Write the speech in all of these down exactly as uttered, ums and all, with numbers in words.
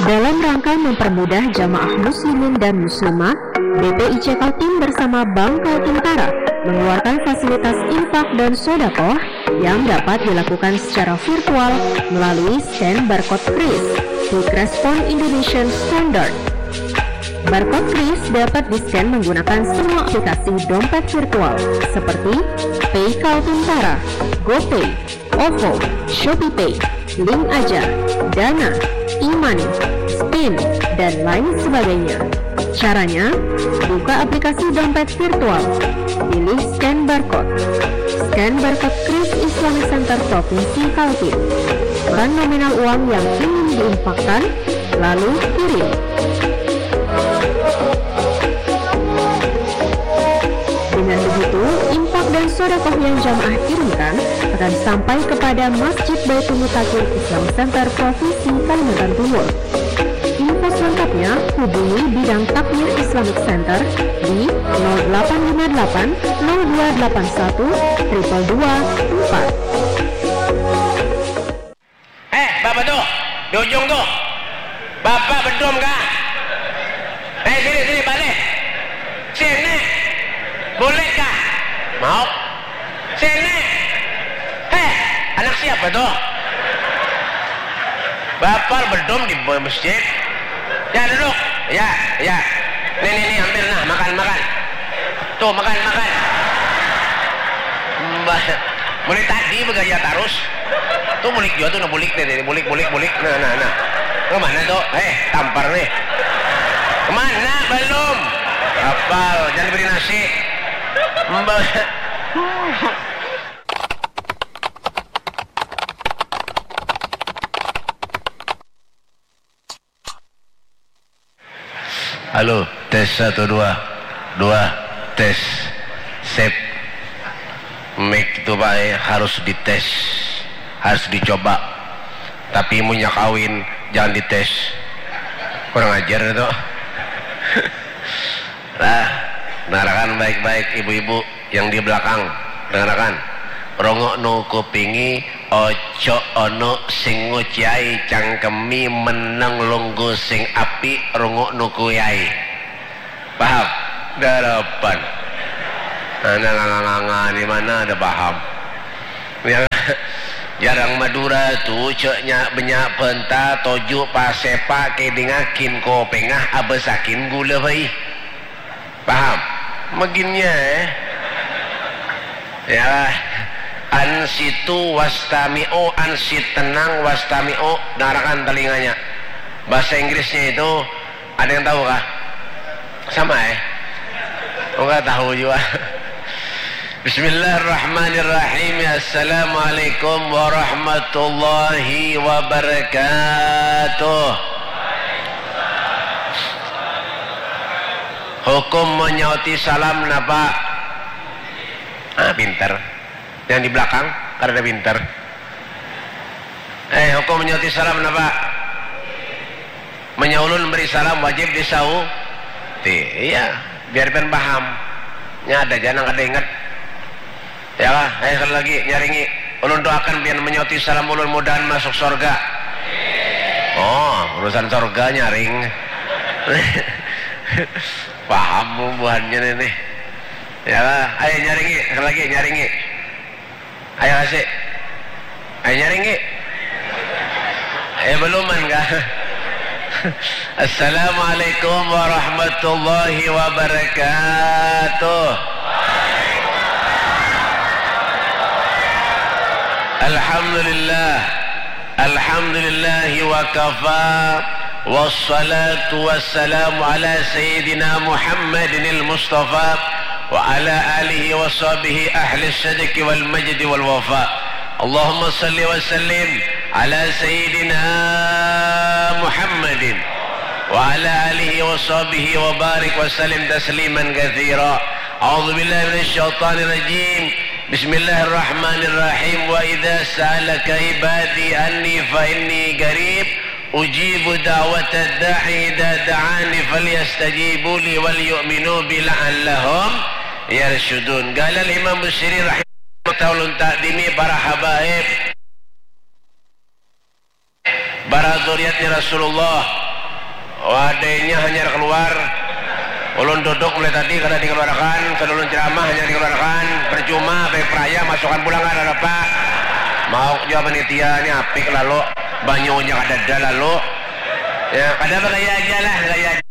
Dalam rangka mempermudah jamaah muslimin dan muslimat, B P I C Kaltim bersama Bank Kaltim Tara mengeluarkan fasilitas infak dan sodakoh yang dapat dilakukan secara virtual melalui scan barcode kris di Crespon Indonesian Standard. Barcode kris dapat di-scan menggunakan semua aplikasi dompet virtual seperti Pay Kaltim Tara, GoPay, OVO, ShopeePay, Link Aja, Dana, e-money, Spin, dan lain sebagainya. Caranya, buka aplikasi dompet virtual, pilih scan barcode. Scan barcode kris Islamic Center Provinsi Kaltim. Ukuran nominal uang yang ingin diinfakkan, lalu kirim. Dengan begitu, infak dan sodakoh yang jamaah kirimkan akan sampai kepada Masjid Baitul Mutakin Islam Center Provinsi Kalimantan Timur. Info selengkapnya hubungi Bidang Takmir Islamic Center di nol delapan lima delapan nol dua delapan satu triple dua empat. Eh, bapak tuh, di ujung tuh. Bapak bedum kah? Eh, sini, sini, balik. Sini. Boleh kah? Mau. Sini. Eh, anak siapa tuh? Bapak bedum di masjid. Ya, duduk. Ya, ya. Nih, nih, nih, ambil nah, makan, makan. Tuh, makan, makan. Mbah, mulai tadi begaya terus. Tuh bulik juga tuh, nah bulik nih, nih, bulik, bulik, bulik. Nah, nah, nah. Ke mana tuh? Eh, tampar nih. Kemana? Belum. Apal, jangan diberi nasi. Mbah. Halo, tes satu, dua. Dua, tes. Sip. Mic tu, Pak, eh, harus dites. Harus dicoba. Tapi munnya kawin, jangan dites. Kurang ajar itu. Nah, dengarkan baik-baik, ibu-ibu yang di belakang, dengarkan. Runguk nu kupingi, oco ono sing nguciai, cangkemi menang lunggu sing api, runguk nu kuyai. Paham? Darapan. Nah, nganga-nganga ni mana ada paham. Yang jarang Madura tu, ceknya banyak penta, toju, pasepa, kedingakin, kopengah, abesakin gula, bai. Paham? Meginnya, eh. Ya. Ansitu wastami'u, ansit tenang, wastami'u, dengarkan telinganya. Bahasa Inggrisnya itu, ada yang tahu kah? Sama, eh? Oh, nggak tahu juga. Bismillahirrahmanirrahim. Assalamualaikum warahmatullahi wabarakatuh. Hukum menyauti salam napa? Ah, pinter. Yang di belakang, kada ada pinter. Eh, hukum menyauti salam napa? Menyaulun beri salam wajib disauti. Iya, biar pian paham. Nya ada ja nang kada ingat. Ya lah, eh, sekali lagi, nyaringi. Ulun doakan pian menyauti salam ulun, mudahan masuk sorga. Oh, urusan sorga nyaring. Paham bubuhannya ini. Ya lah, ayo nyaringi, sekali lagi, nyaringi. Ayo, kasih. Ayo, nyaringi. Eh, beluman kah? Assalamualaikum warahmatullahi wabarakatuh. Alhamdulillah. Alhamdulillahi wa kafa. Wassalatu wassalamu ala sayyidina Muhammadinil Mustafa wa ala alihi wa sahbihi ahli sidqi wal majdi wal wafa. Allahumma salli wa sallim ala sayyidina Muhammadin wa ala alihi wa sahbihi wa barik wa sallim tasliman katsira. A'udzu billahi minasy syaithanir rajim. Bismillahirrahmanirrahim. Wa idza sa'alaka ibadi anni fa inni qarib ujibu da'watad da'i idza da'ani falyastajibu li wal yu'minu bi la'allahum yarsyudun. Qala al-Imam Busiri rahimahullah ta'ala ta'dimi para habaib, para dzurriyyatnya Rasulullah. Wadainya hanyar keluar. Ulun duduk mulai tadi kada dikeluarkan, ulun ceramah hanyar dikeluarkan. Percuma, baik peraya, masukan pulang kada apa. Mau jua panitia ni apik lalu, banyunya kadada lalu. Ya, kada bagaya aja lah, gaya aja.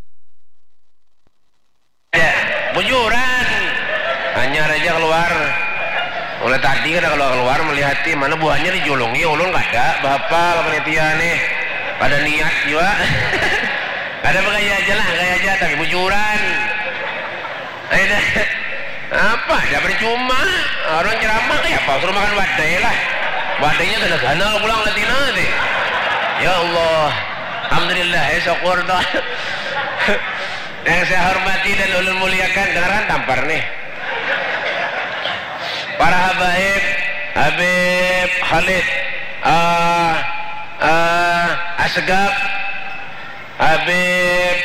Ya, bujuran. Hanyar aja keluar. Mulai tadi kada keluar-keluar melihati mana buahnya dijulungi, ulun kada bahapal panitia nih. Kada niat jua. Kada bagaya aja lah, gaya aja tapi bujuran. Ayo dah. Apa aja percuma. Orang ceramah kayak apa? Suruh makan wadai lah. Wadainya gana-gana pulang nanti nanti. Ya Allah. Alhamdulillah ya syukur tuh. Yang saya hormati dan ulun muliakan, dengarkan tampar nih. Para habaib, Habib Khalid, eh, eh, Asgab, Habib,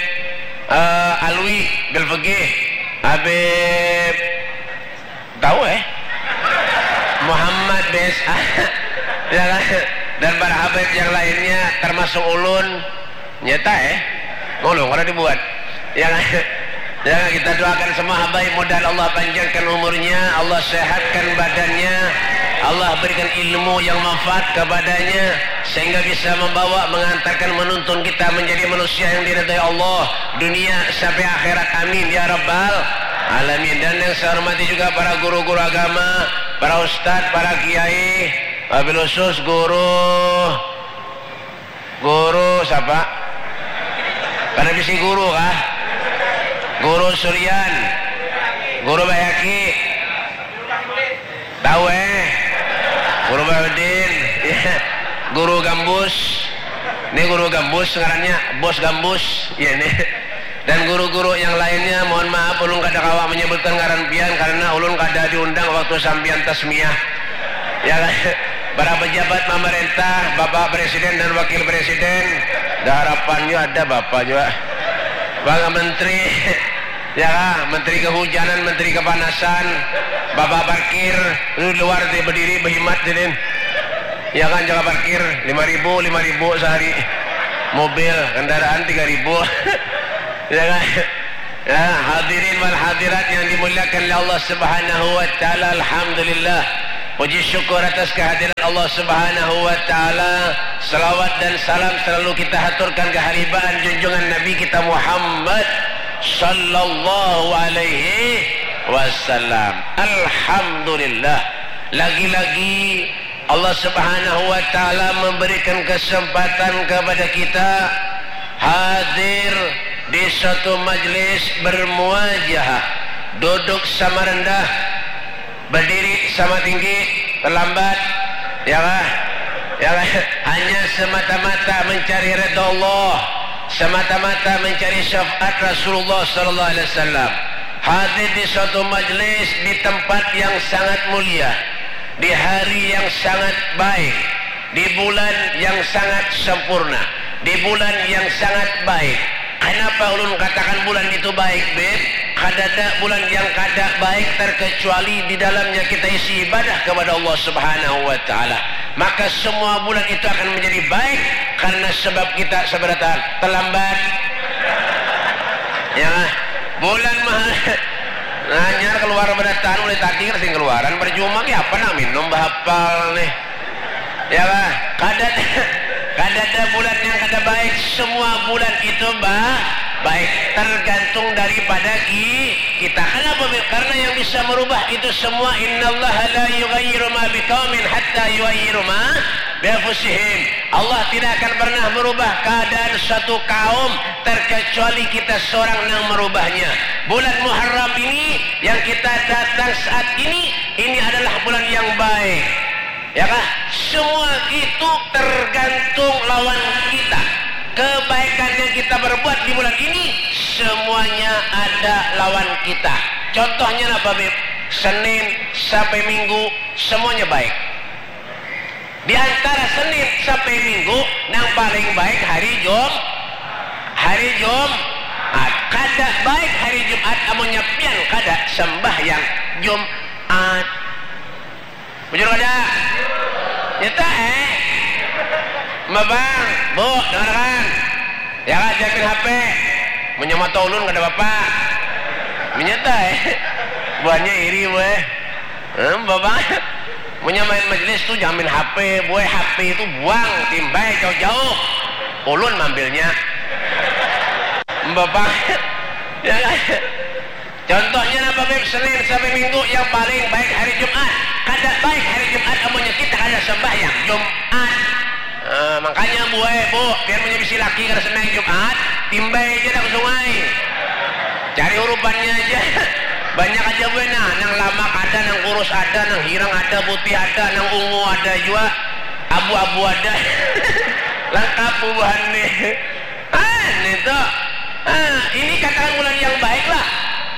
eh, Alwi, Belfegih, Habib, tahu eh? Muhammad B S A. Ya kan? Dan para habaib yang lainnya, termasuk ulun, nyata eh? Ulun kada dibuat. Ya kan? Ya, kita doakan semua habaib, mudahan Allah panjangkan umurnya, Allah sehatkan badannya, Allah berikan ilmu yang manfaat kepadanya, sehingga bisa membawa, mengantarkan, menuntun kita menjadi manusia yang diridhai Allah, dunia sampai akhirat. Amin ya rabbal alamin. Dan yang saya hormati juga para guru-guru agama, para ustadz, para kiai, wabil khusus guru, guru siapa? Pada bisi guru kah? Guru Suryan, guru Bayaki, tahu eh? Guru Baharudin, ya. Guru Gambus. Ini guru Gambus ngarannya, Bos Gambus. Ya ini. Dan guru-guru yang lainnya, mohon maaf, ulun kada kawa menyebutkan ngaran pian karena ulun kada diundang waktu sampian tasmiyah. Ya kan? Para pejabat pemerintah, Bapak Presiden dan Wakil Presiden, ada harapan juga, ada Bapak juga. Para menteri, ya kah? Menteri kehujanan, menteri kepanasan, Bapak parkir, lu di luar dia berdiri, berhimat sini. Ya kan, jaga parkir, lima ribu, lima ribu sehari. Mobil, kendaraan tiga ribu. Ya kan? Ya, hadirin wal hadirat yang dimuliakan oleh Allah Subhanahu wa taala, alhamdulillah. Puji syukur atas kehadiran Allah Subhanahu wa taala. Selawat dan salam selalu kita haturkan ke haribaan junjungan Nabi kita Muhammad sallallahu alaihi wasallam. Alhamdulillah. Lagi-lagi Allah Subhanahu wa taala memberikan kesempatan kepada kita hadir di suatu majlis bermuajahah, duduk sama rendah, berdiri sama tinggi, terlambat, ya kah? Ya kah? Hanya semata-mata mencari redha Allah, semata-mata mencari syafaat Rasulullah sallallahu alaihi wasallam. Hadir di suatu majlis di tempat yang sangat mulia, di hari yang sangat baik, di bulan yang sangat sempurna, di bulan yang sangat baik. Kenapa ulun katakan bulan itu baik, Bib? Kadada bulan yang kada baik terkecuali di dalamnya kita isi ibadah kepada Allah Subhanahu wa taala. Maka semua bulan itu akan menjadi baik karena sebab kita seberatan terlambat. Ya, bulan mahal. Nanyar keluar beratan mulai tadi kan sing keluaran, percuma ki apa nak minum, bahapal nih. Ya lah, kada, kada ada bulan yang kada baik, semua bulan itu ba, baik, tergantung daripada ki, kita. Kenapa? Karena yang bisa merubah itu semua, innallaha la yughayyiru ma biqaumin hatta yughayyiru ma bianfusihim. Allah tidak akan pernah merubah keadaan suatu kaum terkecuali kita seorang yang merubahnya. Bulan Muharram ini yang kita datang saat ini, ini adalah bulan yang baik. Ya kah? Semua itu tergantung lawan kita. Kebaikan yang kita berbuat di bulan ini, semuanya ada lawan kita. Contohnya apa, Bib? Senin sampai Minggu, semuanya baik. Di antara Senin sampai Minggu, nang paling baik hari Jum, hari Jumat. Kada baik hari Jumat, amunnya pian kada sembahyang Jumat. Bujur kada? Nyata eh? Mbak Bang, Bu, dengarkan. Ya lah, jamin H P. Menyamata ulun kada apa-apa. Menyata eh. Buahnya iri weh. Hmm, bapak. Punya main majelis tu jamin H P, buai H P itu buang, timbai jauh-jauh. Ulun mambilnya. Bapak. Ya kan? Contohnya napa Beb, Senin sampai Minggu yang paling baik hari Jumat. Kada baik hari Jumat amunnya kita kada sembahyang Jumat. Eh, makanya buai bu, pian punya bisi laki kada sembahyang Jumat, timbai aja dah ke sungai. Cari hurupannya aja. Banyak aja buai nah, nang lamak ada, nang kurus ada, nang hirang ada, putih ada, nang ungu ada jua, abu-abu ada. Lengkap bubuhan nih. Ah, ini tuh. Ah, ini katakan bulan yang baik lah.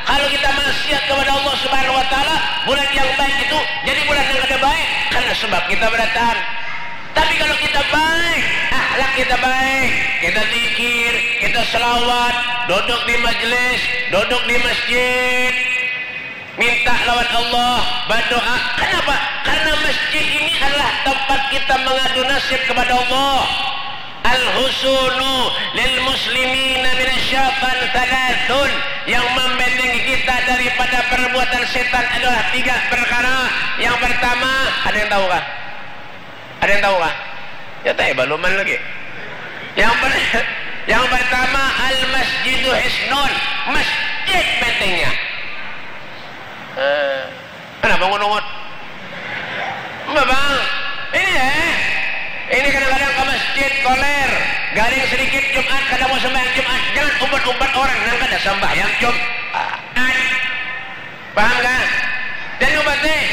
Kalau kita maksiat kepada Allah Subhanahu wa Ta'ala, bulan yang baik itu jadi bulan yang kada baik karena sebab kita berataan. Tapi kalau kita baik, akhlak kita baik, kita zikir, kita selawat, duduk di majelis, duduk di masjid, minta lawan Allah, berdoa. Kenapa? Karena masjid ini adalah tempat kita mengadu nasib kepada Allah. Al-husunu lil muslimina minasyaitan thalathun, yang membentengi kita daripada perbuatan setan adalah tiga perkara. Yang pertama, ada yang tahu kah? Ada yang tahu kah? Ya teh baluman lagi. Yang per, yang pertama al masjidu hisnun, masjid bentengnya. Eh, kenapa ngunungut? Mbak bang, ini eh, ini kadang-kadang ke masjid koler, garing sedikit Jumat kada mau sembahyang Jumat, jangan umpat-umpat orang nang kada sembahyang Jumat. Paham kah? Dan umpat nih.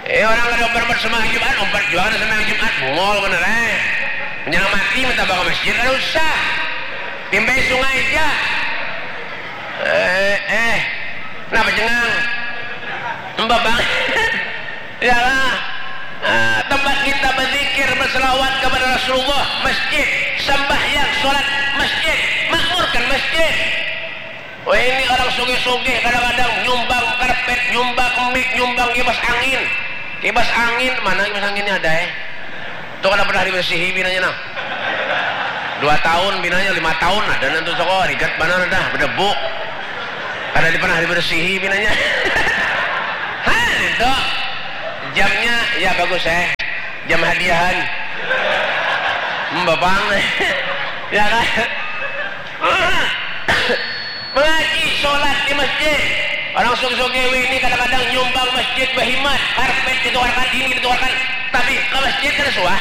Eh, orang kada umpat-umpat sembahyang Jumat, umpat jua kada sembahyang Jumat, bungol bener eh. Menjelang mati minta bawa ke masjid kada usah. Timbai sungai aja. Eh, eh. Kenapa jengang? Mbak bang. Yalah. Ah, tempat kita berzikir, berselawat kepada Rasulullah, masjid, sembahyang, sholat, masjid, makmurkan masjid. Wah, ini orang sugih-sugih kadang-kadang nyumbang karpet, nyumbang mik, nyumbang kipas angin. Kipas angin, mana kipas anginnya ada eh? Itu kada pernah dibersihi binanya nah. Dua tahun binanya, lima tahun ada nanti soko rigat mana dah berdebu. Kada di- pernah dibersihi binanya. Hah, itu jamnya ya bagus eh. Jam hadiahan. Hmm, bapang. Ya kan? Mengaji, sholat di masjid. Orang sugih-sugih ini kadang-kadang nyumbang masjid bahimat, karpet ditukarkan, ini ditukarkan, tapi ke masjid kada suah.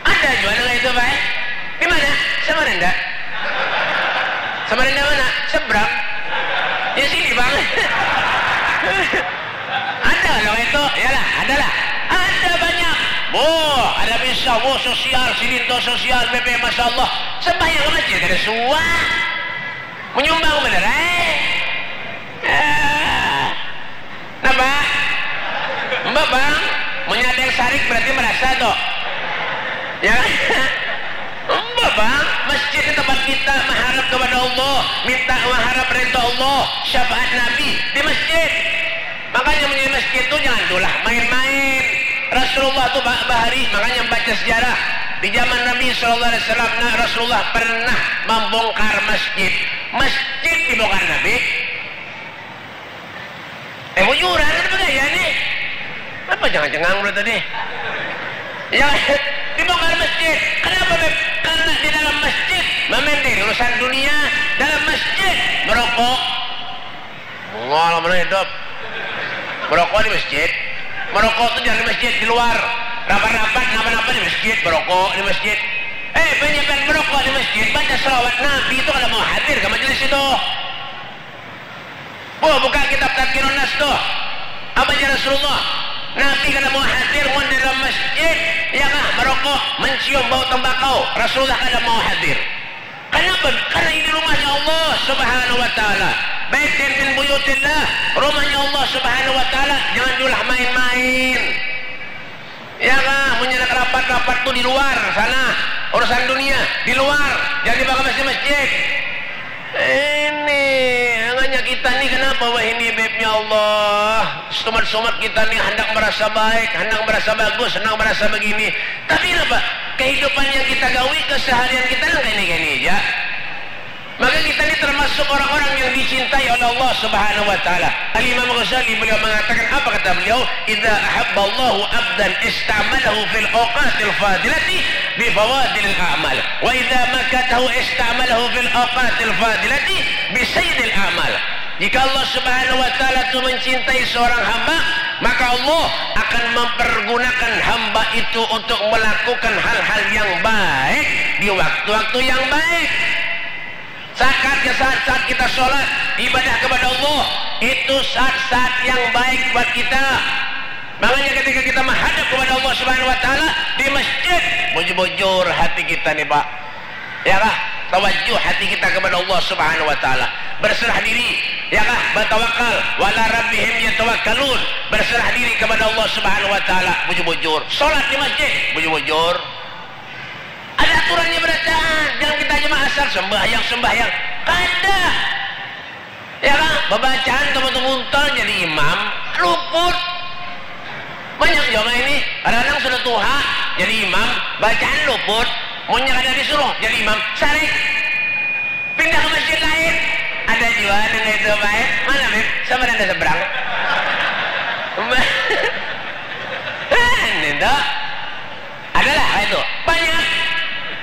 Ada jua nang itu baik. Di mana? Samarinda. Samarinda mana? Seberang. Ya sini bang. Ada kalau itu, ya lah, ada lah. Ada banyak. Boh, ada bisa, boh sosial, silinto sosial, B P, masya Allah. Sembahyang ke masjid kada suah. Menyumbang bener eh. Eh. Napa? Mbak bang, menyadar sarik berarti merasa toh. Ya. Mbak bang, masjid itu tempat kita mengharap kepada Allah, minta mengharap ridho Allah, syafaat Nabi di masjid. Makanya menjadi masjid itu jangan tulah main-main. Rasulullah tu ba- bahari, makanya baca sejarah. Di zaman Nabi sallallahu alaihi wasallam, nah, Rasulullah pernah membongkar masjid. Masjid dibongkar Nabi. Eh, bujuran, kenapa gaya nih? Apa jangan cengang dulu tadi? Ya, dibongkar masjid. Kenapa, Beb? Karena di dalam masjid, main di urusan dunia, dalam masjid, merokok. Bungol mana hidup? Merokok di masjid. Merokok tuh jangan di masjid, di luar. Rapat-rapat, napa-napa di masjid, merokok di masjid. Eh, banyakan merokok di masjid, baca salawat Nabi itu kada mau hadir ke majelis itu. Buh, buka kitab Tadkirun Nas tuh. Apa jar Rasulullah? Nabi kada mau hadir mun dalam masjid, ya kah, merokok, mencium bau tembakau. Rasulullah kada mau hadir. Kenapa? Karena ini rumahnya Allah Subhanahu wa taala. Baitin min buyutillah, rumahnya Allah Subhanahu wa taala, jangan diulah main-main. Ya kah, punya anak rapat-rapat tuh di luar sana, urusan dunia di luar, jangan dibawa ke masjid-masjid. Ini hanya Kita ni kenapa wahini, Beb? Ya Allah, sumat-sumat kita ni handak merasa baik, handak merasa bagus, handak merasa begini. Tapi kenapa? Kehidupan yang kita gawi, keseharian kita nang kaya ini, kaya ini ja. Maka kita ni termasuk orang-orang yang dicintai oleh Allah Subhanahu wa Ta'ala. Al-Imam Ghazali, beliau mengatakan, apa kata beliau? "Idza ahabballahu abdan ista'malahu fil awqatil fadilati bi fadilil a'mal. Wa idza makatahu ista'malahu fil awqatil fadilati bi sayyidil a'mal." Jika Allah Subhanahu wa Ta'ala itu mencintai seorang hamba, maka Allah akan mempergunakan hamba itu untuk melakukan hal-hal yang baik di waktu-waktu yang baik. Saat-saat kita sholat, ibadah kepada Allah, itu saat-saat yang baik buat kita. Makanya ketika kita menghadap kepada Allah Subhanahu wa Ta'ala di masjid, bujur-bujur hati kita nih, Pak. Ya kah? Tawajjuh hati kita kepada Allah Subhanahu wa Ta'ala. Berserah diri. Ya kah? Bertawakal. Wa ala rabbihim yatawakkalun. Berserah diri kepada Allah Subhanahu wa Ta'ala. Bujur-bujur. Sholat di masjid. Bujur-bujur. Ada aturannya berataan. Jangan kita aja mah asal sembahyang, sembahyang. Kada. Ya kah? Babacaan sama tu muntal jadi imam. Luput. Banyak jua mah ini. Kadang-kadang sudah tuha, jadi imam, bacaan luput. Munnya kada disuruh jadi imam, sarik. Pindah ke masjid lain. Ada jua nang itu, Pak, eh. Mana, Beb? Sama ada seberang. Ini tuh. Adalah kaya itu. Banyak.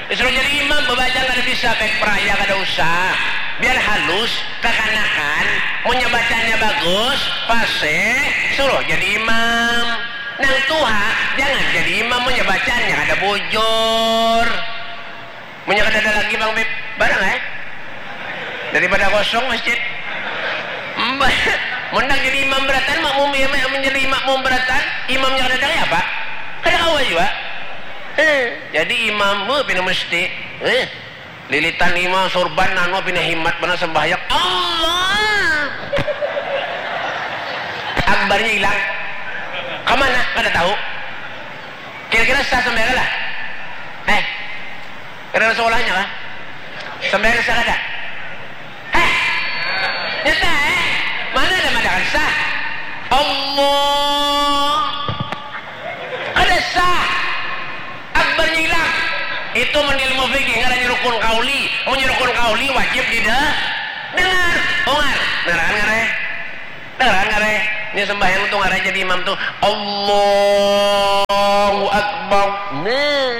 Disuruh jadi imam, babacaan kada bisa, baik peraya kada usah. Biar halus, kakanakan, munnya bacaannya bagus, fasih, suruh jadi imam. Nang tuha, jangan jadi imam, munnya bacaannya kada bujur. Munnya kada ada lagi, Bang Bib, barang, eh? Daripada kosong masjid. Mbah, mun nang jadi imam berataan, makmum, iya, mun jadi makmum berataan, imamnya kada ada, ya apa? Kada kawa jua. Eh, jadi imam, beuh, pina mesti. Eh, lilitan imam, surban, anu, pina himat banar sembahyang. Allah Akbarnya hilang. Ka mana? Kada tahu. Kira-kira sah sembahyang lah? Eh, kada ada sekolahnya kah? Sembahyang sah kada? Eh, nyata, eh? Mana ada madakan sah? Allah. Kada sah. Akbarnya hilang. Itu mun ilmu fikih ngarannya rukun qauli. Munnya rukun qauli wajib dida-, dengar. Ungar. Dengaran kada, eh? Dengaran kada, eh? Ini sembahyang tu ngarannya jadi imam tu, Allahu Akbar. Nah.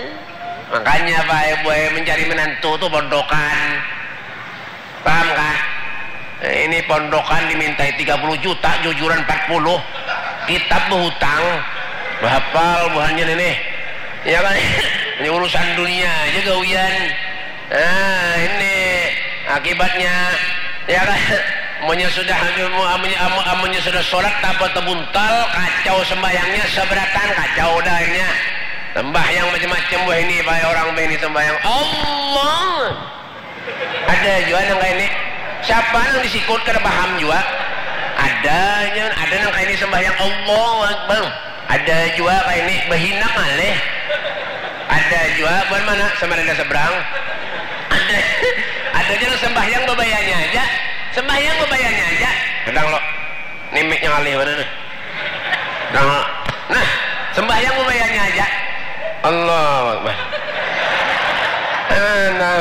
Makanya, Pak, eh, buai mencari menantu tu pondokan. Paham kah? Eh, ini pondokan dimintai tiga puluh juta, jujuran empat puluh. Kitab behutang. Bahapal buhannya ini. Ya kan? Ini urusan dunia aja gawian. Nah, ini akibatnya, ya kan? Amunnya sudah, amunnya, amun-, amunnya sudah sholat, tapa tebuntal, kacau sembahyangnya, seberatan, kacau dah akhirnya. Sembahyang macam-macam, wah, ini, baik orang ini sembahyang. Allah. Ada jua nang kaya ini. Siapa nang disikut kada paham jua. Ada nya, ada nang kaya ini sembahyang Allahu Akbar. Ada jua kaya ini bahina ngalih. Ada jua, buhan mana? Samarinda seberang. Ada, ada jua nang sembahyang babayanya aja. Sembahyang babayanya aja. Kadang lo, ni mic-nya ngalih banar nih. Nah, nah, sembahyang babayanya aja. Allahu Akbar. Ah, nah.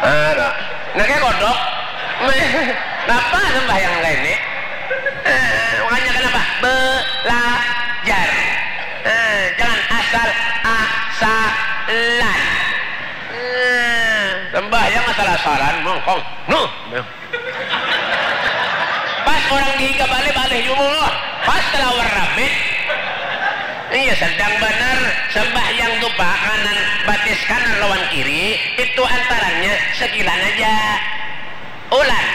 Ah, nah. Nah, kaya kodok. Napa sembahyang kaya ini? Eh, makanya kenapa? Belajar. Eh, jangan asal-asalan. Eh, sembahyang asal-asalan, mongkong. Nuh. Pas orang dihiga balik, balik jumlah. Pas talawar rame. Iya, sedang banar sembahyang tu, Pak, kanan, batis kanan lawan kiri, itu antarannya sekilan aja. Ulan,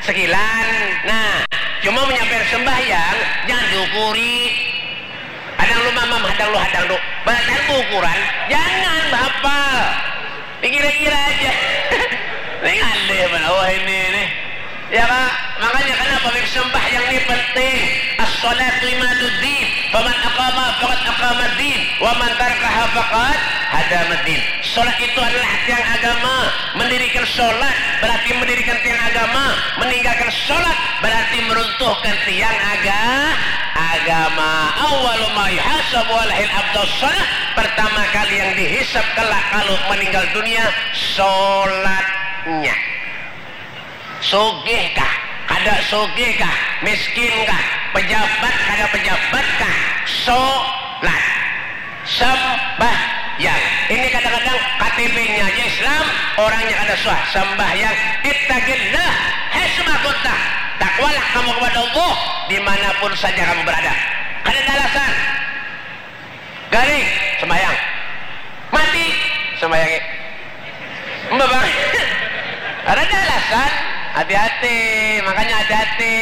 sekilan. Nah, cuma menyampaikan sembahyang, jangan diukuri. Hadang lu mamam, hadang lu hadang lu. Badan ukuran, jangan bahapal. Dikira-kira aja. Ini ngalih mana wah ini nih. Ya, Pak, makanya karena Pabrik sembahyang ni penting. As-salatu imaduddin. Faman aqama faqad aqamaddin. Wa man tarakaha faqad hadamaddin. Salat itu adalah tiang agama. Mendirikan salat berarti mendirikan tiang agama. Meninggalkan salat berarti meruntuhkan tiang aga agama. Awwalu ma yuhasabu alaihil abdus salat. Pertama kali yang dihisab kelak kalau meninggal dunia salatnya. Sugih kah? Kada sugih kah? Miskin kah? Pejabat kada pejabat kah? Solat. Sembahyang. Ini kadang-kadang K T P-nya aja Islam, orangnya kada suah. Sembahyang. Ittaqillah. Hei sumangkuta. Takwalah kamu kepada Allah dimanapun saja kamu berada. Kada ada alasan. Garing, sembahyang. Mati, sembahyang. Mbak bang. Ada alasan, hati-hati, makanya hati-hati.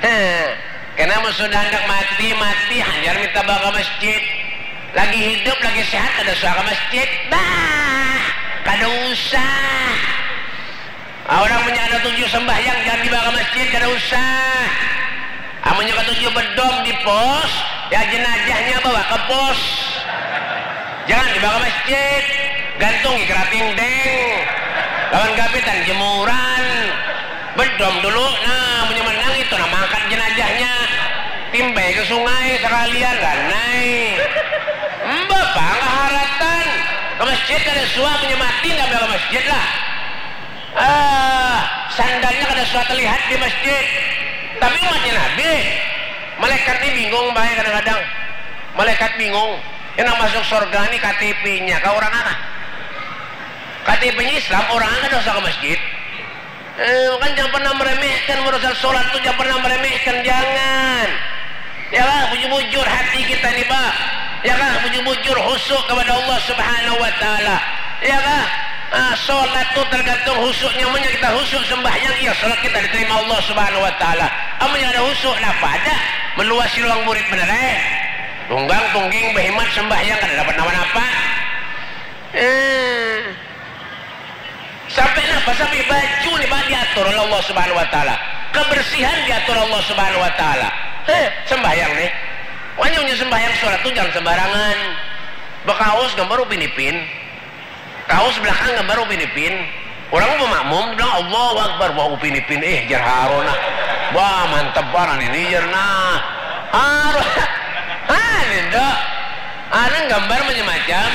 Heh. Karena mau sudah hendak mati, mati hanyar minta bawa ke masjid. Lagi hidup, lagi sehat, ada suara ke masjid. Bah, kada usah. Ah, orang punya ada tujuh sembahyang, jangan dibawa ke masjid, kada usah. Amunnya katuju bedom di pos, ya jenajahnya bawa ke pos. Jangan dibawa ke masjid. Gantung di kerating deng. Lawan gapitan jemuran. Bedom dulu. Nah, amunnya menang itu nah mangkat jenajahnya. Timbai ke sungai sekalian ranai. Mbah pang haratan. Ke masjid kada suah, amunnya mati ndak bawa ke masjid lah. Ah, sandalnya kada suah terlihat di masjid. Tapi umatnya Nabi, malaikat ni bingung bae kadang-kadang. Malaikat bingung. Yang nak masuk surga ni K T P-nya kah orang apa? K T P-nya Islam, orang kada usah ke masjid. Eh, kan jangan pernah meremehkan urusan sholat tu, jangan pernah meremehkan, jangan. Ya kah, bujur-bujur hati kita ni, Pak. Ya kah, bujur-bujur khusyuk kepada Allah Subhanahu wa Ta'ala. Ya kah? Ah, sholat tu tergantung khusyuknya. Amunnya kita khusyuk sembahyang, iya sholat kita diterima Allah Subhanahu wa Ta'ala. Amunnya ada khusyuk, napa ada? Meluasi ruang burit benar, eh. Tunggang, tungging, behimat, sembahyang, kada dapat napa-napa. Eh. Sampai napa? Sampai baju ni, Pak, diatur oleh Allah Subhanahu wa Ta'ala. Kebersihan diatur Allah Subhanahu wa Ta'ala. Eh, sembahyang nih. Wanya, wanya sembahyang sholat tu jangan sembarangan. Bekaos gambar Upin Ipin. Kaos belakang gambar Upin Ipin. Orang mau makmum bilang, "Allahu Akbar." Wah, Upin Ipin, eh, jar Harun, nah. Wah, mantep banar ini, jar, nah. Harun, ah, ini, Dok. Harun gambar macam-macam.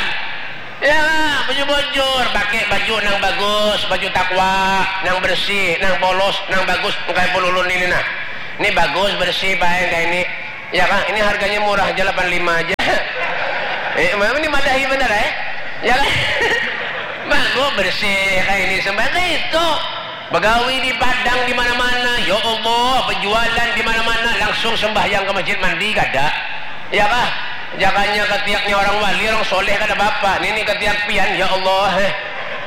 Ya, bujur-bujur, pakai baju nang bagus, baju takwa, nang bersih, nang polos, nang bagus, bukan pululun ini, nah. Ini bagus, bersih, baik, kayak ini. Ya kah? Ini harganya murah aja, delapan lima aja. Eh, memang ini madahi benar, eh? Ya kah? Bagus, bersih, kayak ini, sembahyang itu. Begawi di Padang di mana-mana, ya Allah, berjualan di mana-mana, langsung sembahyang ke masjid, mandi kada. Ya kah? Jakanya ketiaknya orang wali, orang soleh kada apa-apa. Ini, ini ketiak pian, ya Allah, eh.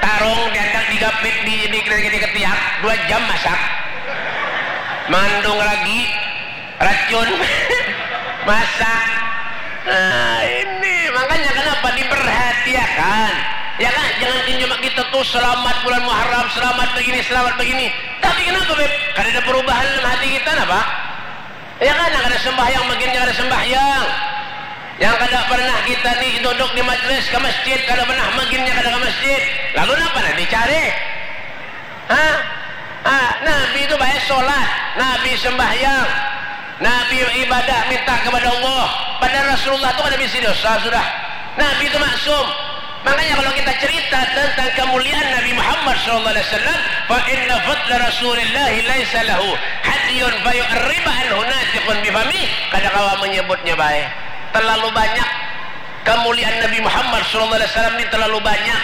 Tarung diandak digapit di, di, di, di ketiak, dua jam masak. Mandung lagi, racun, masak. Nah, ini makanya kenapa diperhatiakan. Ya kah? Jangan cuma kita tuh selamat bulan Muharram, selamat begini, selamat begini. Tapi kenapa, Beb? Kada ada perubahan dalam hati kita, napa? Ya kan, kada sembahyang, maginnya kada sembahyang. Yang kada pernah kita ni duduk di majlis ke masjid, kada pernah, maginnya kada ke masjid. Lalu napa nak dicari? Hah? Ah, Nabi itu baik sholat, Nabi sembahyang, Nabi ibadah, minta kepada Allah. Padahal Rasulullah itu kada bisi dosa sudah. Nabi itu maksum. Makanya kalau kita cerita tentang kemuliaan Nabi Muhammad sallallahu alaihi wasallam, fa inna fadla Rasulillahi laisa lahu hadiyun fa yu'riba anhu natiqun bifami, kada kawa menyebutnya baik. Terlalu banyak kemuliaan Nabi Muhammad sallallahu alaihi wasallam ini, terlalu banyak.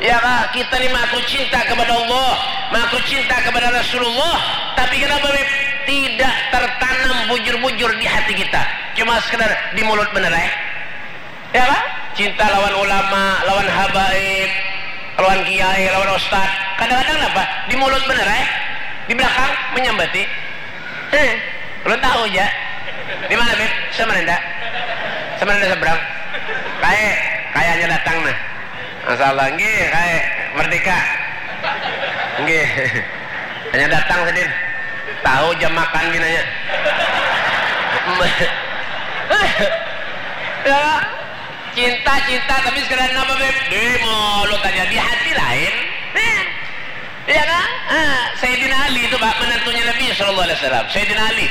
Ya kah? Kita ni mengaku cinta kepada Allah, mengaku cinta kepada Rasulullah, tapi kenapa, Beb? Tidak tertanam bujur-bujur di hati kita. Cuma sekedar di mulut benar, eh. Ya kah? Cinta lawan ulama, lawan habaib, lawan kiai, lawan ustad. Kadang-kadang napa? Di mulut benar, eh? Di belakang menyambati. Eh, belum tahu aja. Di mana, Beb? Samarinda. Samarinda seberang. Kayak, kayaknya datang nah. Masya Allah, nggih, kayak merdeka. Nggih. Hanya datang sedin. Tahu jam makan pinanya. Ya, cinta, cinta, tapi sekalian apa, Beb? Di mulut aja, di hati lain. Nah, iya kan? Ah, Sayyidina Ali itu, Pak, menantunya Nabi sallallahu alaihi wasallam. Sayyidina Ali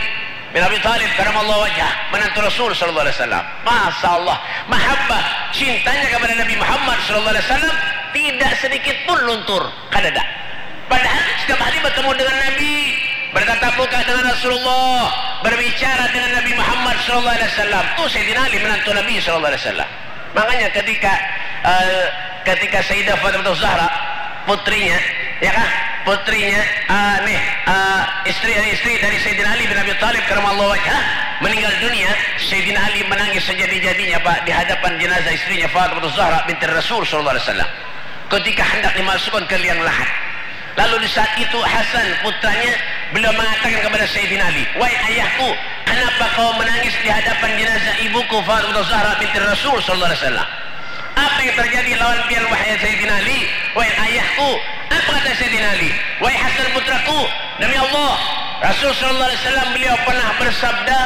bin Abi Thalib karamallahu wajhah, menantu Rasul sallallahu alaihi wasallam. Masya Allah, mahabbah, cintanya kepada Nabi Muhammad sallallahu alaihi wasallam tidak sedikit pun luntur, kadada. Padahal setiap hari bertemu dengan Nabi, bertatap muka dengan Rasulullah, berbicara dengan Nabi Muhammad sallallahu alaihi wasallam. Tuh Sayyidina Ali menantu Nabi sallallahu alaihi wasallam. Makanya ketika, eh, ketika Sayyidah Fatimah Zahra, putrinya, ya kah? Putrinya, eh, nih, eh, istri, istri dari Sayyidina Ali bin Abi Thalib karamallahu wajhah, meninggal dunia, Sayyidina Ali menangis sejadi-jadinya, Pak, di hadapan jenazah istrinya Fatimah Zahra binti Rasul sallallahu alaihi wasallam. Ketika hendak dimasukkan ke liang lahat. Lalu di saat itu Hasan putranya, beliau mengatakan kepada Sayyidina Ali, "Wahai ayahku, kenapa kau menangis di hadapan jenazah ibuku Fatimah Zahra binti Rasul sallallahu alaihi wasallam? Apa yang terjadi lawan pian, wahai Sayyidina Ali? Wahai ayahku." Apa kata Sayyidina Ali? "Wahai Hasan putraku, demi Allah, Rasul sallallahu alaihi wasallam beliau pernah bersabda,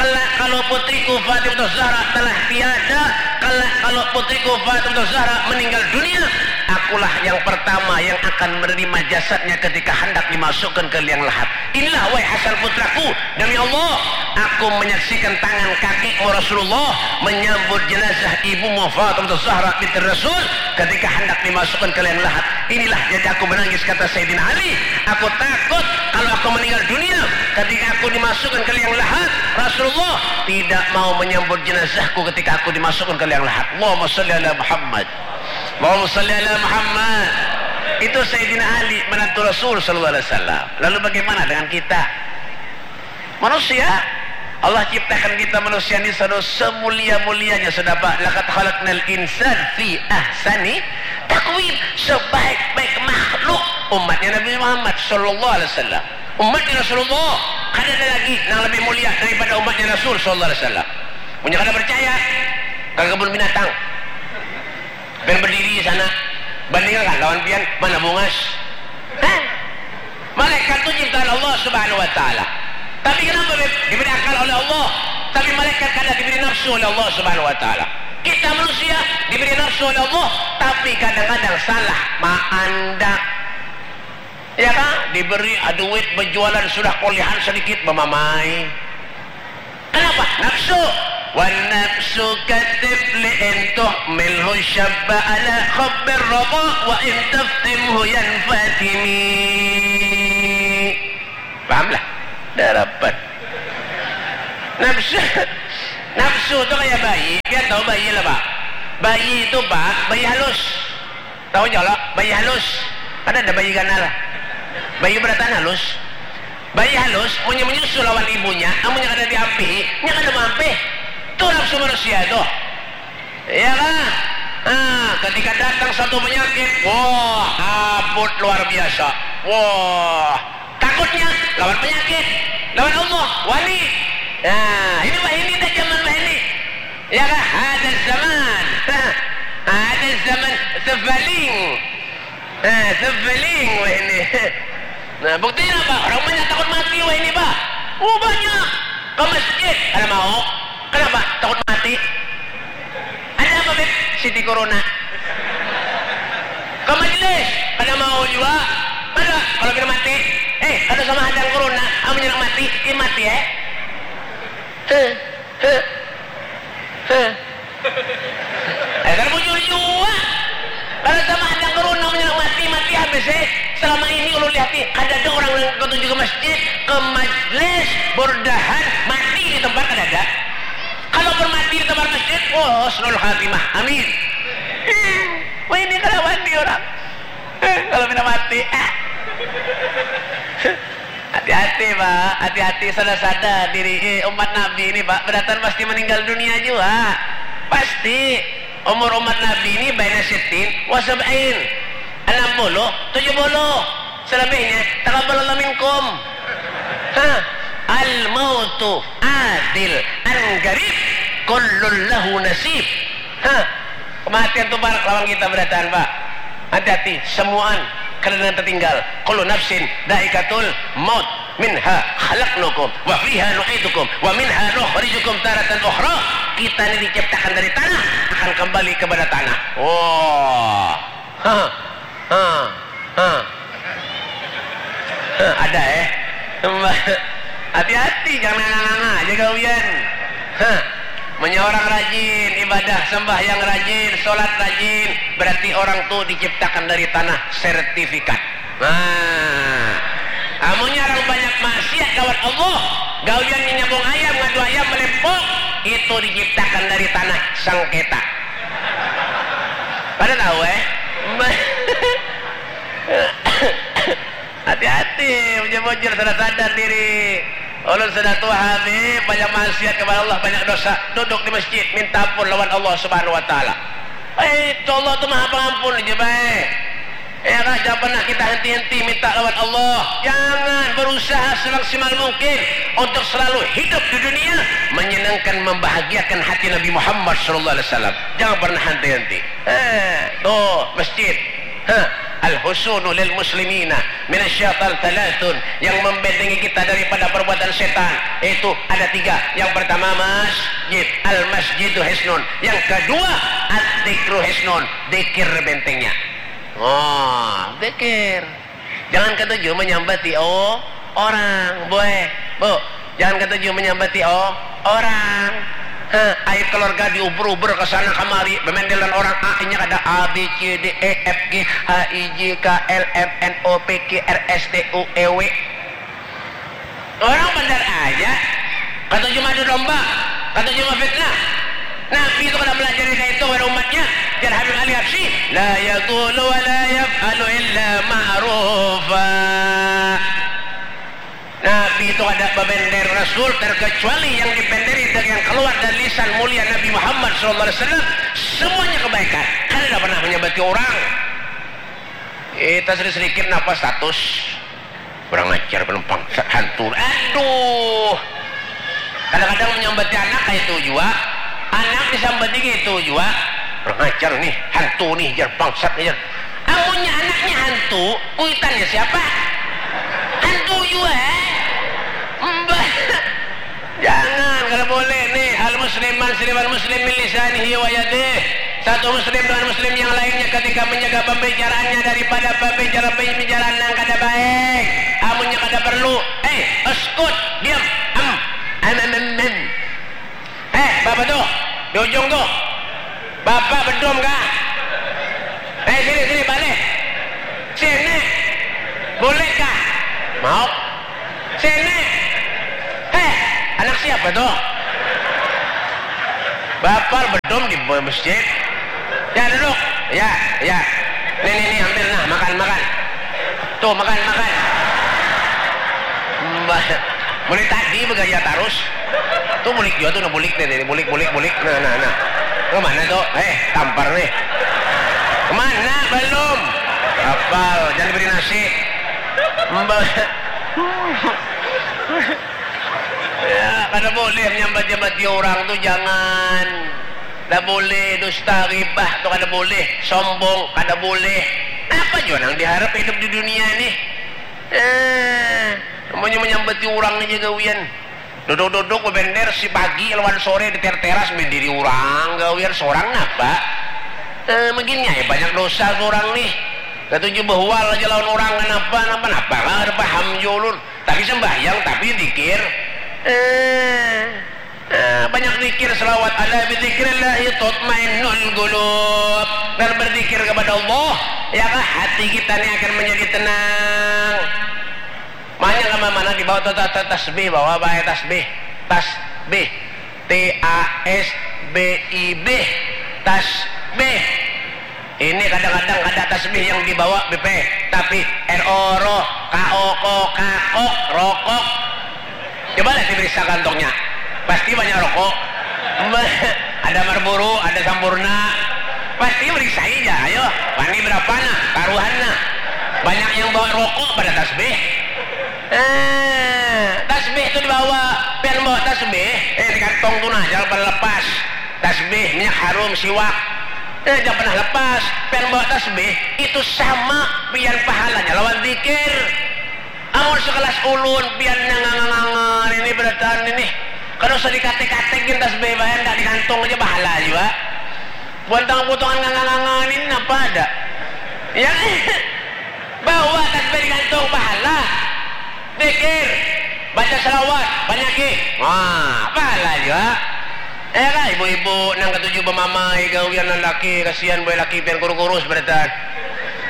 'Kelak kalau putriku Fatimah Zahra telah tiada, kelak kalau putriku Fatimah Zahra meninggal dunia, akulah yang pertama yang akan menerima jasadnya ketika hendak dimasukkan ke liang lahat. Inilah, wahai Hasan putraku, demi Allah, aku menyaksikan tangan kakekmu Rasulullah menyambut jenazah ibumu Fatimah Zahra binti Rasul ketika hendak dimasukkan ke liang lahat. Inilah jadi aku menangis,' kata Sayyidina Ali. Aku takut kalau aku meninggal dunia, ketika aku dimasukkan ke liang lahat, Rasulullah tidak mau menyambut jenazahku ketika aku dimasukkan ke liang lahat." Allahumma shalli ala Muhammad. Allahumma shalli ala Muhammad. Itu Sayyidina Ali, menantu Rasul sallallahu alaihi wasallam. Lalu bagaimana dengan kita? Manusia, Allah ciptakan kita manusia ini sado semulia-mulianya, sudah, Pak. "Laqad khalaqnal insan fi ahsani taqwim." Sebaik-baik makhluk umatnya Nabi Muhammad sallallahu alaihi wasallam. Umatnya Rasulullah, kada ada lagi nang lebih mulia daripada umatnya Rasul sallallahu alaihi wasallam. Munnya kada percaya, ke kebun binatang. Pian berdiri di sana, bandingkan lawan pian, mana bungas? Hah? Malaikat tu ciptaan Allah Subhanahu wa Ta'ala. Tapi kenapa, Beb? Diberi akal oleh Allah, tapi malaikat kada diberi nafsu oleh Allah Subhanahu wa Ta'ala. Kita manusia diberi nafsu oleh Allah, tapi kadang-kadang salah maandak. Ya kan? Diberi duit berjualan, sudah kuliahan sedikit, bamamai. Kenapa? Nafsu. "Wan nafsu katifli in tuhmilhu syabba ala hubbir rida wa in taftimhu yanfatimi." Paham lah? Darapan. Nafsu, nafsu tu kaya bayi. Pian tahu bayi lah, Pak? Bayi itu, Pak, bayi halus. Tahu jua lah, bayi halus. Kada ada bayi ganal. Bayi berataan halus. Bayi halus, munnya menyusu lawan ibunya, amunnya kada diampihi, nya kada maampih. Tu nafsu manusia tu. Ya kah? Nah, ketika datang satu penyakit, wah, abut luar biasa. Wah, takutnya lawan penyakit, lawan Allah, wani. Nah, ini wahini dah zaman wahini. Ya kah? Ada zaman. Ada zaman sebaling. Nah, sebaling wahini. Nah, buktinya apa? Orang banyak takut mati wahini, Pak. Oh, banyak. Ke masjid, kada mau. Kenapa? Takut mati. Ada apa, Beb? Siti Corona. Ke majelis, kada mau jua. Kada, kalau pina mati. Eh, kada sama hadang corona, amunnya nang mati, i mati, eh. Heh, heh, heh. Eh, kada bujur jua. Kada sama hadang corona, amunnya nang mati, mati habis, eh. Selama ini ulun lihati, kadada urang nang katuju ke masjid, ke majlis, burdahan, mati di tempat, kadada. Kalaupun mati di tempat masjid, wah, husnul khatimah. Amin. Wah, ini kada wani urang. Kalau pina mati, ah. Hati-hati, Pak. Hati-hati, sada-sada diri, eh, umat Nabi ini, Pak. Berataan pasti meninggal dunia jua. Pasti. Umur umat Nabi ini baina sittin wa sab'in. Enam puluh, tujuh puluh. Selebihnya, taqabbalallahu minkum. Hah. Al mautu atil an qarib, kullun lahu nasib. Hah. Kematian tu barak lawan kita berataan, Pak. Hati-hati, semuaan kada nang tertinggal. Kullu nafsin dhaikatul maut. Minha khalaqnakum wa fiha nu'idukum wa minha nukhrijukum taratan ukhra. Kita ini diciptakan dari tanah, akan kembali kepada tanah. Wah. Hah. Hah. Hah. Hah, ada eh. Hati-hati, jangan nganga-nganga aja gawian. Hah. Munnya orang rajin ibadah, sembahyang rajin, sholat rajin, berarti orang tu diciptakan dari tanah, sertifikat. Nah, amunnya orang banyak maksiat lawan Allah, gawiannya nyambung ayam, ngadu ayam, melempok, itu diciptakan dari tanah, sengketa. Pada tahu eh? Hati-hati, bujur-bujur, sadar-sadar diri. Ulun sudah tuha, Habib, banyak maksiat kepada Allah, banyak dosa. Duduk di masjid, minta ampun lawan Allah Subhanahu wa Ta'ala. Eh, itu Allah tu Maha Pengampun aja bae. Ya kan, jangan pernah kita henti-henti minta lawan Allah. Jangan, berusaha semaksimal mungkin untuk selalu hidup di dunia menyenangkan, membahagiakan hati Nabi Muhammad sallallahu alaihi wasallam. Jangan pernah henti-henti. Eh, tuh, masjid. Hah, al-husunu lil muslimina minasyaitan thalathun, yang membentengi kita daripada perbuatan setan itu ada tiga. Yang pertama masjid, al-masjidu hisnun. Yang kedua, ad-dzikru hisnun, dzikir bentengnya. Oh, dzikir. Jangan katuju menyambati, oh, orang, boy, bu, jangan katuju menyambati, oh, orang. Heh, aib keluarga diuber-uber ke sana kemari, bemendelan orang A, inya kada A, B, C, D, E, F, G, H, I, J, K, L, M, N, O, P, Q, R, S, T, U, E, W. Orang bandar aja, katuju madu domba, katuju mafitnah. Nabi itu kada melajari kaya itu kepada umatnya. Jar Habib Ali Habsyi, la yaqulu wa la yaf'alu illa ma'rufa. Nabi itu kada babender Rasul terkecuali yang dibenderi dan yang keluar dari lisan mulia Nabi Muhammad sallallahu alaihi wasallam, semuanya kebaikan. Kada pernah menyambati orang. Kita sedikit-sedikit napa status. Kurang ajar, penumpang hantu. Aduh. Kadang-kadang menyambati anak kayak itu juga. Anak disambati kayak itu juga. Kurang ajar nih, hantu nih, jar bangsat nih, jar. Amunnya anaknya hantu, kuitannya siapa? Hantu juga, eh? Mbah. Jangan, kada boleh nih. Al musliman siliman muslim min lisanihi wa yadih. Satu muslim dengan muslim yang lainnya ketika menjaga pembicaraannya daripada pembicaraan-pembicaraan yang kada baik. Amunnya kada perlu, eh, uskut, diam, em, em, em, em. Eh, bapak tuh, di ujung tuh, bapak bedom kah? Eh, sini, sini, balik. Sini. Boleh kah? Mau. Sini. Heh, anak siapa tuh? Bapal bedom di masjid. Ya, duduk. Ya, ya. Nih, nih, nih, ambil nah, makan, makan. Tuh, makan, makan. Mbah, mulai tadi begaya terus. Tuh bulik juga tuh, nah bulik nih, nih, bulik, bulik, bulik. Nah, nah, nah. Ke mana tuh? Eh, tampar nih. Kemana? Belum. Apal, jangan diberi nasi. Mbah. Ya, kada boleh menyambat-nyambati orang tu, jangan. Kada boleh dusta, ghibah tu kada boleh, sombong kada boleh. Apa jua nang diharap hidup di dunia ni? Eh, namanya menyambati orang aja gawian. Duduk-duduk bebender si pagi lawan sore di ter-, teras berdiri orang gawian seorang napa? Eh, begini ya banyak dosa seorang nih. Katuju behual aja lawan orang, kenapa? Napa, napa? Kada paham jua ulun. Tapi sembahyang, tapi zikir. Eh, eh, banyak zikir, selawat, "Ala bidzikrillahi tatmainnul qulub." Dan berzikir kepada Allah, ya kah, hati kita ni akan menjadi tenang. Makanya kama mana dibawa tu ta-, ta-, tasbih, bawa bae tasbih. Tasbih. T A S B I B. Tasbih. Ini kadang-kadang kada tasbih yang dibawa B P, tapi R O roh, K O ko kakok, rokok. Cobalah diperiksa kantongnya. Pasti banyak rokok. Ada Marlboro, ada Sampoerna. Pasti periksa aja, ayo. Wani berapa nah? Taruhan nah. Banyak yang bawa rokok pada tasbih. Eh, tasbih tu dibawa. Pian bawa tasbih, eh, di kantong tu nah, jangan pernah lepas. Tasbih, minyak harum, siwak. Eh, jangan pernah lepas. Pian bawa tasbih, itu sama pian pahalanya lawan zikir. Naon sekelas ulun pian nang ngangan-ngangan ini berataan ini. Kada usah dikatik-katik gin tasbih bae, handak digantung aja bahala jua. Buantang putungan ngangan-ngangan ini napa ada? Ya, bawa tasbih digantung bahala. Dikir, baca salawat, banyaki. Wah, bahala jua. Eh kah, ibu-ibu nang katuju bamamai gawian laki, kasian boy laki pian kurus-kurus berataan.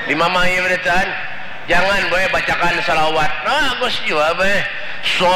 Dimamai berataan. Jangan boy bacakan salawat. Bagus jua boy. So